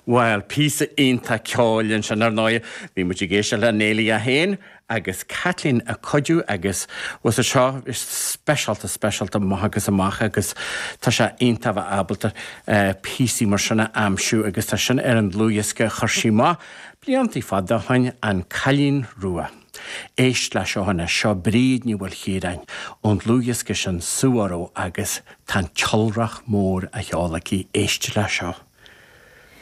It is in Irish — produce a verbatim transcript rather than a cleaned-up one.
Well, píosa iontach ceoil ansin ar ndóigh, bhí muid ag éisteacht le Neilí a haon agus Caitlín ag cuidiú agus was seo speisialta speisialta amach agus amach agus tá sé iontach bheith ábalta uh, píosaí mar sin a aimsiú agus tá sin ar an dlúthdhiosca a chuir sí amach blianta fada ó shin an Cailín Rua. Éist le seo anois seo Bríd Ní Mhaoilchiaráin ón dlúthdhiosca sin Suaró agus tá an t-iolrach mór á cheol aici éist le seo.